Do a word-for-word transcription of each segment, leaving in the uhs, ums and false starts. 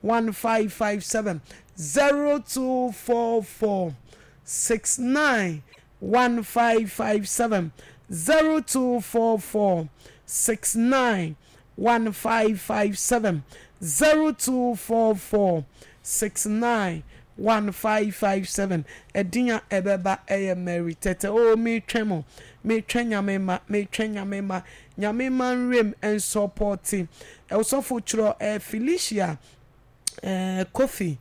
one five five seven zero two four four six nine one five five seven zero two four four six nine one five five seven zero two four four six nine one five five seven ɛdin a ɛbɛba ɛyɛ Mary Tɛtɛ o metwɛn mo metwɛn nyame ma metwɛn nyame ma nyame ma nwuram nsɔpɔte ɛwosɔfo twerɛ ɛɛ Felicia ɛɛ Kofi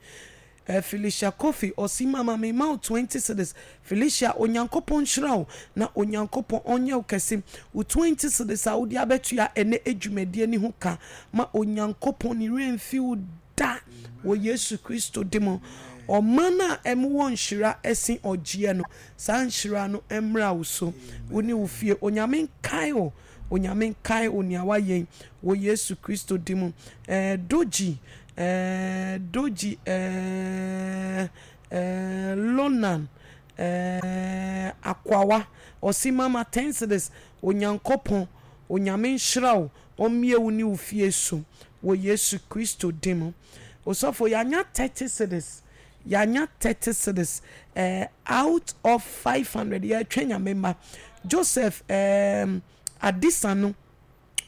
ɛɛ Felicia Kofi ɔsi mama mi ma wo twenty cedis Felicia onyankopɔn nhyira wo na onyankopɔn ɔnyɛ wo kɛse wo twenty cedis a wode abɛtua ɛnɛ edwumadie ne ho ka ma onyankopɔn ne werɛ mfi wo da wɔ yesu kristo di mu ɔman a ɛmu wɔ nhyira ɛsen ɔgyeɛ no saa nhyira no mmra wo so wo ne wo fie onyame nkae wo onyame nkae wo nea wayɛ wɔ yesu kristo di mu ɛɛ doji ɛɛ doji ɛɛ ɛɛ lonan ɛɛ akwawa ɔsi mama ten cedis onyankopɔn onyame nhyira wo ɔmmie wo ne wo fie so wɔ yesu kristo di mu osɔfo yɛanya thirty cedis yɛanya thirty cedis ɛɛ out of five hundred yɛtwɛn nyame ma joseph ɛɛm adisa no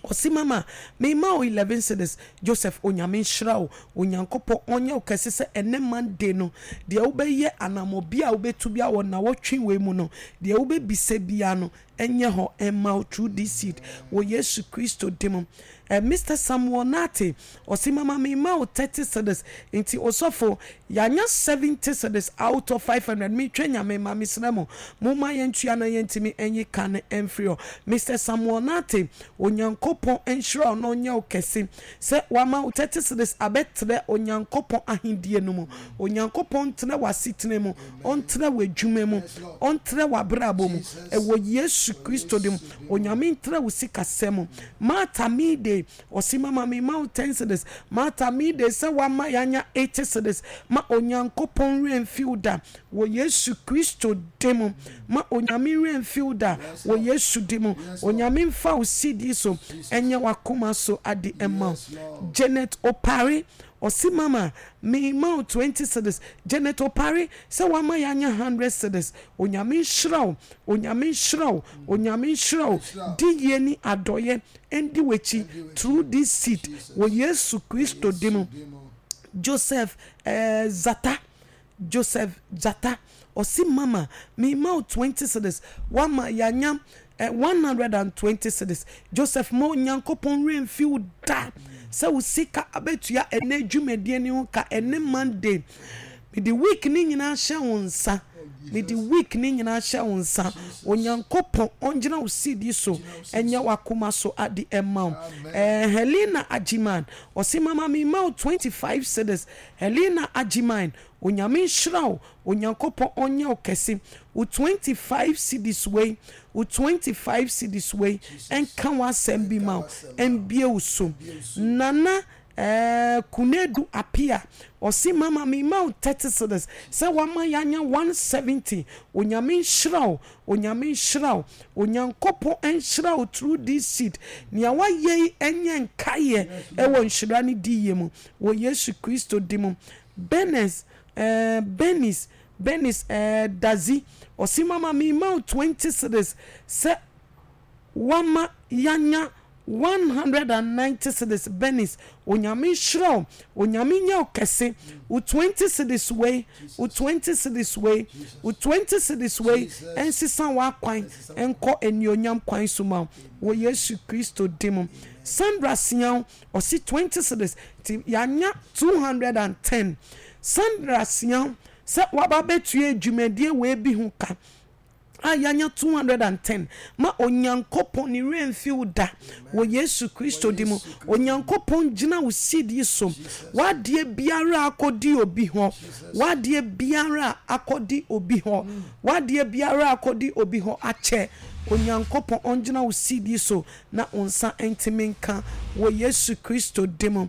ɔsi mama mema wo eleven cedis joseph onyame nhyira wo onyankopɔn ɔnyɛ wo kɛse sɛ ɛnɛ monday no deɛ wobɛyɛ anammɔ bi a wobɛtu bi a wɔ nawɔtwe wei mu no deɛ wobɛbisa bia no ɛnyɛ hɔ ɛma wo through this seed wɔ yesu kristo di mu eh, mr samuel nate ɔsi mama mema wo thirty cedis nti ɔsɔfo yɛanya seventy cedis out of five hundred metwɛ nyame ma mesrɛ mo momma yɛntua na yɛntumi ɛnyi ka no ɛmfiri hɔ mr samuel nate onyankopɔn nhyira wo na ɔnyɛ wo kɛse sɛ wama wo thirty cedis abɛtrɛ onyankopɔn ahendie no mu onyankopɔn ntena w'asetena mu ɔntena w'adwuma mu ɔntena w'abrabɔ mu ɛwɔ yesu kristo de mu onyame ntena wo sikasɛm mu martha mide ɔsi mama mi ma wo ten cedis martha mide sɛ wama yɛanya eighty cedis ma onyankopɔn werɛ mfi wo da wɔ yesu kristo de mu ma onyame werɛ mfi wo da wɔ yesu de mu onyame mfa wo sidi so ɛnyɛ w'akoma so ade ɛma wo janet opare ɔsi mama mi ma wo twenty cedis janet opare sɛ wama yɛanya hundred cedis onyame nhyira wo onyame nhyira wo onyame nhyira wo di yie ni adɔyɛ ɛndi w'akyi through this seed wɔ yesu kristo di mu joseph eh, zata joseph zata ɔsi mama mi ma wo twenty cedis wama yɛanya eh, one hundred and twenty cedis joseph mo onyankopɔn werɛ mfi wo da sɛ wo sika abɛtua ɛnɛ dwumadie ne ho ka ɛne monday mede week ne nyinaa hyɛ wo nsa mede week ne nyinaa hyɛ wo nsa onyankopɔn ɔngyina wo seed so ɛnyɛ w'akoma so ade ɛma wo ɛɛ helena agyeman ɔsi mama mi ma wo twenty five cedis helena agyeman onyame nhyira wo onyankopɔn ɔnyɛ wo kɛse wo twenty five cedis wei wo twenty five cedis wei ɛnka w'asɛm bi ma wo ɛnbie wo so nana ɛɛ kunedu apia ɔsi mama mi ma wo thirty cedis sɛ wama yanya one seventy onyame nhyira wo onyame nhyira wo onyankopɔn nhyira wo through this seed nea wayɛ yi ɛnyɛ nkaeɛ ɛwɔ nhyira ne di yie mu wɔ yesu kristo di mu benes ɛɛ benis benis ɛɛ dazi ɔsi mama mi ma wo twenty cedis sɛ wama yanya one hundred and ninety cedis benis onyame nhyira wo onyame nyɛ wo kɛse wo twenty cedis wei wo twenty cedis wei wo twenty cedis wei ɛnsesa w'akwan ɛnkɔ anuonyam kwan so ma wo wɔ yesu kristo di mu sandra siaw ɔsi twenty cedis nti yanya two hundred and ten sandra siaw sɛ waba bɛtua dwumadie wei bi ho ka a yɛanya two hundred and ten ma onyankopɔn ne werɛ mfi wo da wɔ yesu kristo di mu onyankopɔn gyina wo seed yi so w'adeɛ biara akɔdi obi hɔ w'adeɛ biara akɔdi obi hɔ w'adeɛ biara akɔdi obi hɔ akyɛ onyankopɔn ɔngyina wo seed yi so na wo nsa ntumi nka wɔ yesu kristo di mu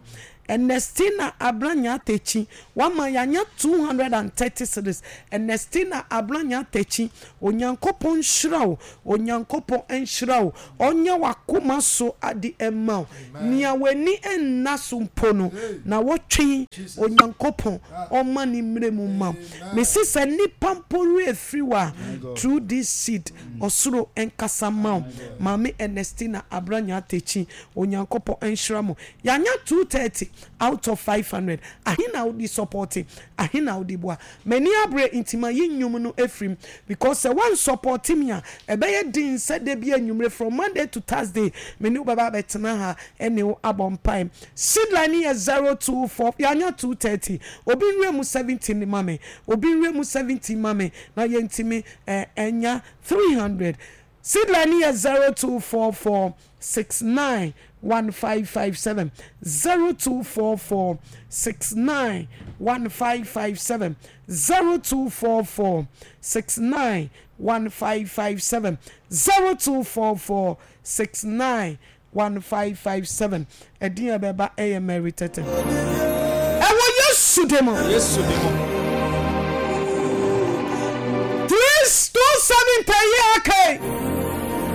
Ernestina Abranya Techi wama yɛanya two hundred and thirty cedis. Ernestina Abranya Techi, Onyankopɔn nhyira wo, Onyankopɔn nhyira wo, ɔnyɛ w'akoma so ade mma wo. Nea w'ani nna so mpo no, na wɔtwe Onyankopɔn ɔma ne mmerɛ mu ma wo. Mese sɛ nnipa mpo werɛ firi wo a, through this seed, ɔsoro nkasa mma wo. Maame Ernestina Abranya Techi, Onyankopɔn nhyira mo. Yɛanya two thirty out of five hundred. Ahe na wode supporte? Ahe na wode boa? M'ani abere nti mayi nnwom no afiri mu because sɛ woansupporte me a, ɛbɛyɛ den sɛ da bi anwummere from Monday to Thursday me ne wo bɛba abɛtena ha ne wo abɔ mpae. Seed line no yɛ zero two four, yɛanya two thirty. Obi nwura mu seventy ma me. Obi nwura mu seventy ma me na yɛntumi eh, nya three hundred. Seed line no yɛ zero two four four six nine one five five seven zero two four four six nine one five five seven zero two four four six nine one five five seven zero two four four six nine one five five seven. Ɛdin a ɛbɛba ɛyɛ Mary Tete. Ɛwɔ Yesu din mu. Yesu din mu. Three two seven tɛ yɛ aka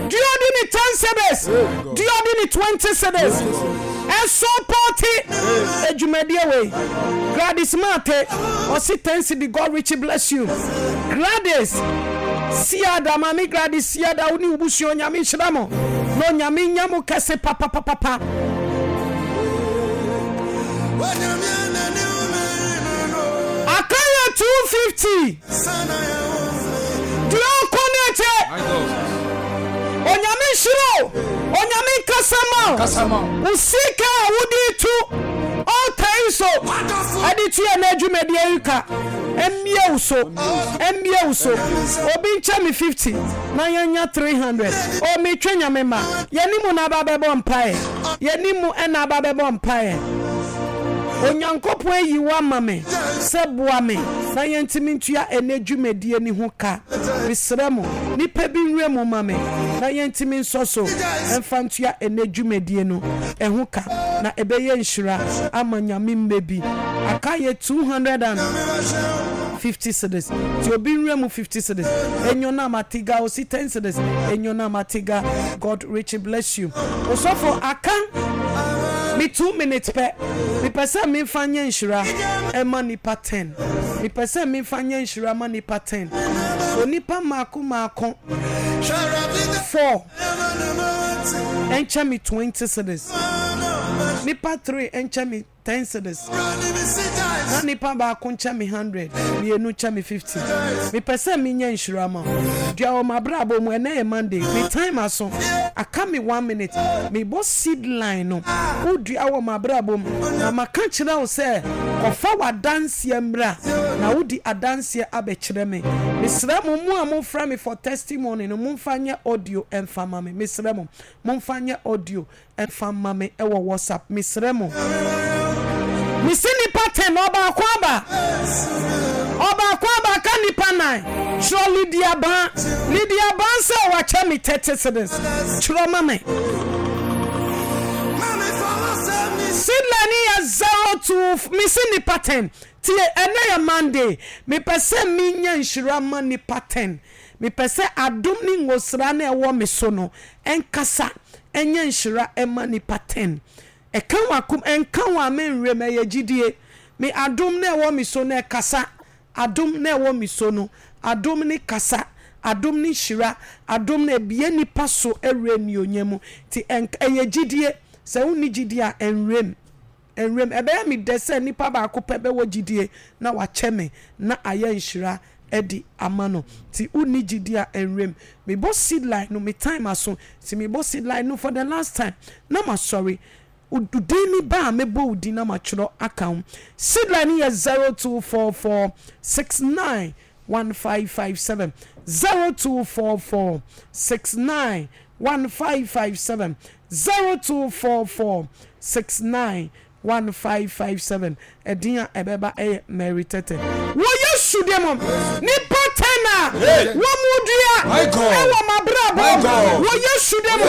Dua ɔde ne ten cedis, dua ɔde ne twenty cedis. Ɛso pɔte adwumadie wei. Gladys Mate, ɔsi ten cedi, God richly bless you. Gladys Siada, maame Gladys Siada, wo ne wo busua Onyame nhyira mo. Na Onyame nya mo kɛse papapapapa. Aka yɛ two fifty. Deɛ ɔkɔ no akyɛ. Onyame nhyira o. Onyame nkasa ma o. Wo sika a wode to altar yi so ɛde tua na adwumadie yi ka mmie wo so, mmie wo so. Obi nkyɛ me fifty na yɛnya three hundred. O metwe Nyame ma. Yɛne mu na aba bɛbɔ mpaeɛ. Yɛne mu ɛna aba bɛbɔ mpaeɛ. Onyankopɔn ayi wo ama me sɛ boa me na yɛntumi ntua ɛnɛ dwumadie no ho ka. Mesrɛ mo, nnipa bi nwura mu ma me na yɛntumi nsɔ so mfa ntua ɛnɛ dwumadie no ho ka na ɛbɛyɛ nhyira ama Nyame mma bi. Aka yɛ two hundred and fifty cedis nti obi nwura mu fifty cedis. Enyonam Atiga osi ten cedis. Enyonam Atiga, God richly bless you. Osɔfo aka me two minutes pɛ. Mepɛ sɛ memfa nyɛ nhyira ɛma nipa ten. Mepɛ sɛ memfa nyɛ nhyira ma nipa ten. Onipa mmaako mmaako four ɛnkyɛ me twenty cedis. Nipa three ɛnkyɛ me ten cedis. Na nipa baako nkyɛ me hundred, mmienu nkyɛ me fifty. Mepɛ sɛ menya nhyira ma wo. Dua wɔ m'abrabɔ mu, ɛnɛ yɛ Monday, me time aso, aka me one minute. Mebɔ seed line no, wodua wɔ m'abrabɔ mu, na maka kyerɛ wo sɛ kɔfa w'adanseɛ mmra, na wodi adanseɛ abɛkyerɛ me. Mesrɛ mo, mo a mofrɛ me for testimony no, momfa nyɛ audio mfa ma me. Mesrɛ mo, momfa nyɛ audio mfa mma me wɔ WhatsApp, mesrɛ mo. Mese nipa ten, ɔbaako aba, ɔbaako aba, aka nipa nnan. Twerɛ Lydia Baa, Lydia Baa sɛ wakyɛ me thirty cedis, twerɛ ma me. Sidley ne yɛ zero two, mese nipa ten. Tie, ɛnɛ yɛ Monday, mepɛ sɛ menya nhyira ma nipa ten. Mepɛ sɛ adom ne ngosra no a ɛwɔ me so no nkasa nyɛ nhyira mma nnipa ten. Ɛka w'akom, ɛnka wo a menwerɛ mu, ɛyɛ gyidie. Me adom no a ɛwɔ me so no ɛkasa, adom no a ɛwɔ me so no, adom no kasa, adom no hyira, adom no ɛbue nnipa so wura anuonyam mu. Nti ɛnka, ɛyɛ gyidie. Sɛ wonni gyidie a, ɛnwerɛ mu. Ɛnwerɛ mu. Ɛbɛyɛ me dɛ sɛ nipa baako pɛ bɛwɔ gyidie na wakyɛ me na ayɛ nhyira de ama no. Nti wonni gyidie a ɛnwerɛ mu. Mebɔ seed line no, me time aso nti mebɔ seed line no for the last time na masɔre. Wo din ne ba a mɛbɔ wo din na matwerɛ aka ho. Seed line no yɛ zero two four four six nine one five five seven, zero two four four six nine one five five seven, zero two four four six nine one five five seven. Ɛdin a ɛbɛba yɛ Mary Tete. Wɔ Yesu din mu, nnipa ten ten a wɔn dua ɛwɔ m'abrabɔ wɔ Yesu din mu.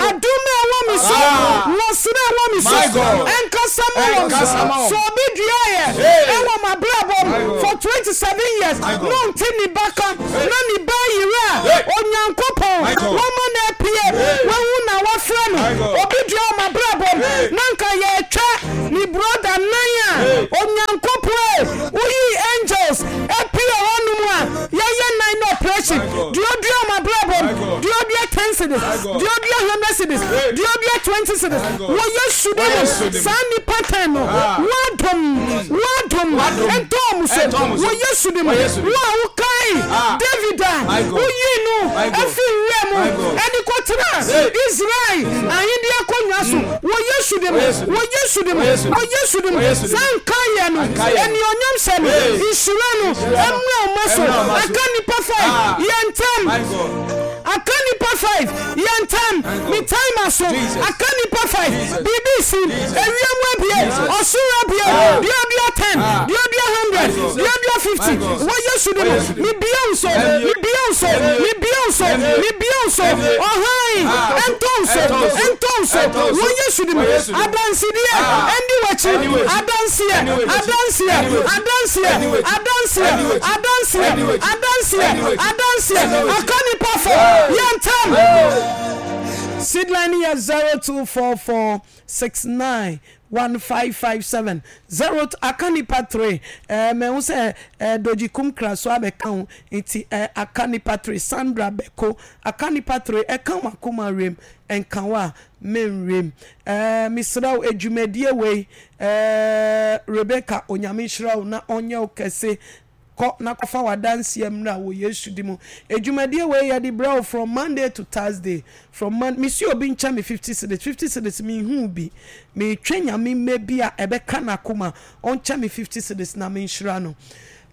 Adom a ɛwɔ me so, nwosra a ɛwɔ me so, ɛnkasa ma wɔn. Sɛ obi dua yɛ ɛwɔ m'abrabɔ mu for twenty seven years na ɔnte ne ba ka na ne ba yere a, Onyankopɔn wɔma no apue, wahu na wafrɛ no. Obi dua wɔ m'abrabɔ mu na nka yɛretwa ne brother nan a, Onyankopɔn e, woyii angels apue hɔnom a yɛyɛ nan no operation. Deɛ ɔdua wɔ m'abrabɔ mu, deɛ ɔdua ten cedis, deɛ ɔdua hundred cedis, deɛ ɔdua twenty cedis, wɔ Yesu din mu, saa nnipa ten no, w'adom, w'adom ntɔ wɔn so wɔ Yesu din mu. Wo a wokae David a woyii no fii nwura mu de kɔtenaa Israel ahenni akonnwa so wɔ Yesu din mu, wɔ Yesu din mu, wɔ Yesu din mu, saa nkaeɛ no, anuonyamhyɛ no, nhyira no mmra wo mma so. Aka nnipa five, yɛ ntɛm. Aka nnipa five, yɛ ntɛm. Me time aso. Aka nnipa five, biribi resi. Ewiem abue, ɔsoro abue. Deɛ ɔdua ten, deɛ ɔdua hundred, deɛ ɔdua fifty, wɔ Yesu din mu, mebue wo so, mebue wo so, mebue wo so, mebue wo so. Ɔhan ntɔ wo so, ntɔ wo so, wɔ Yesu din mu. Adansedie ndi w'akyi, adanseɛ, adanseɛ, adanseɛ, adanseɛ, adanseɛ, adanseɛ, adanseɛ. Aka nnipa four, yɛ ntɛm. Seedline no yɛ zero two four four six nine one five five seven zero aka nipa three ɛɛ mɛhu sɛ ɛɛ Dodgy Kumkra so abɛka ho nti ɛɛ aka nipa three Sandra Beko aka nipa three ɛka wakoma wiem ɛnka wo a menwiem ɛɛ mesrɛ wo edwumadie wei ɛɛ Rebecca Onyame nhyira wo na ɔnyɛ wo kɛse. Kɔ na kɔfa w'adanseɛ mmra wɔ Yesu di mu. Edwumadie wei yɛde brɛ wo from Monday to Thursday. From Mon mesi obi nkyɛ me fifty cedis, fifty cedis menhuu bi. Metwɛn Nyame mmɛ bi a ɛbɛka n'akoma ɔnkyɛ me fifty cedis na menhyira no.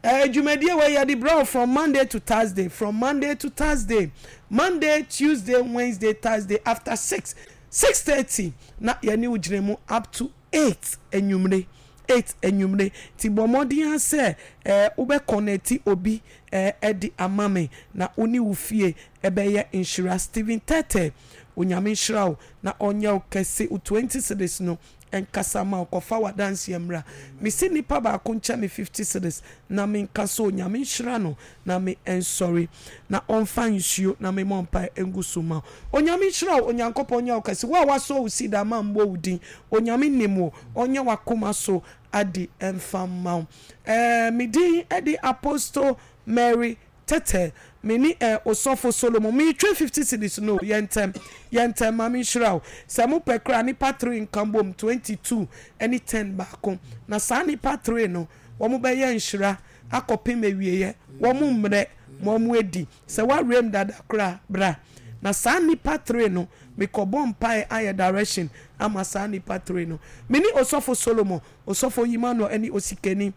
Eh, dwumadie wei yɛde brɛ wo from Monday to Thursday, from Monday to Thursday. Monday, Tuesday, Wednesday, Thursday after six, six thirty na yɛne wo gyina mu up to eight anwummere. Eight anwummere nti bɔ mmɔden ara sɛ eh, wobɛ connecti obi eh, de ama me na wo ne wo fie ɛbɛyɛ nhyira. Stephen Tete, Onyame nhyira wo na ɔnyɛ wo kɛse, wo twenty cedis no nkasa ma wo, kɔfa w'adanseɛ mmra. Mese nipa baako nkyɛ me fifty cedis na menka sɛ Onyame nhyira no na me nsɔre na ɔmfa nsuo na me mmɔ mpaeɛ ngu so mma wo. Onyame nhyira wo, Onyankopɔn nyɛ wo kɛse. Wo a wasɔ wo seed ama mmɔ wo din, Onyame nim wo, ɔnyɛ w'akoma so ade mfa mma wo. Ɛɛ, me din de Apostle Mary Tete, me ne eh, Osɔfo Solomon. Meretwa fifty cedis no o, yɛ ntɛm, yɛ ntɛm, ma menhyira wo. Sɛ mopɛ koraa a, nnipa three nka mbom, twenty two ne ten baako. Na saa nnipa three no, wɔbɛyɛ nhyira akɔpem awieɛ, wɔn mmerɛ ma wɔn adi. Sɛ woawerɛm dada koraa a, bra. Na saa nnipa three no, mekɔbɔ mpaeɛ ayɛ direction ama saa nnipa three no. Me ne Osɔfo Solomon, Osɔfo Emmanuel ne Osikani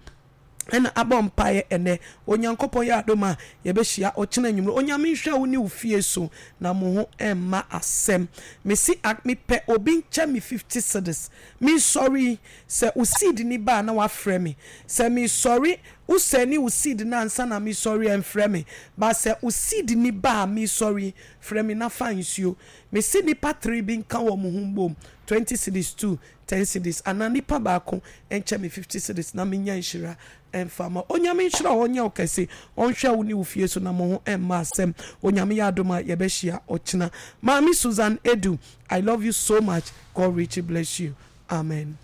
na abɔ mpaeɛ ɛnnɛ. Onyankopɔn yɛ adom a, yɛbɛhyia ɔkyena anwummerɛ. Onyame nhwɛ wo ne wo fie so na mo ho mma asɛm. Mese a, mepɛ obi nkyɛ me fifty cedis. Mesɔre yi, sɛ wo seed ni ba a na wafrɛ me. Sɛ mesɔre, wo sɛne wo seed no ansa na mesɔre a mfrɛ me. But sɛ wo seed ni ba a mesɔre yi, frɛ me na fa nsuo. Mese nnipa three bi nka wɔn ho mbom, twenty cedis two, ten cedis, anaa nipa baako nkyɛ me fifty cedis na menya nhyira mfa ma. Onyame nhyira wo, ɔnyɛ wo kɛse, ɔnhwɛ wo ne wo fie so na mo ho mma asɛm. Onyame yɛ adom a yɛbɛhyia ɔkyena. Maame Susan Edu, I love you so much, God richly bless you. Amen.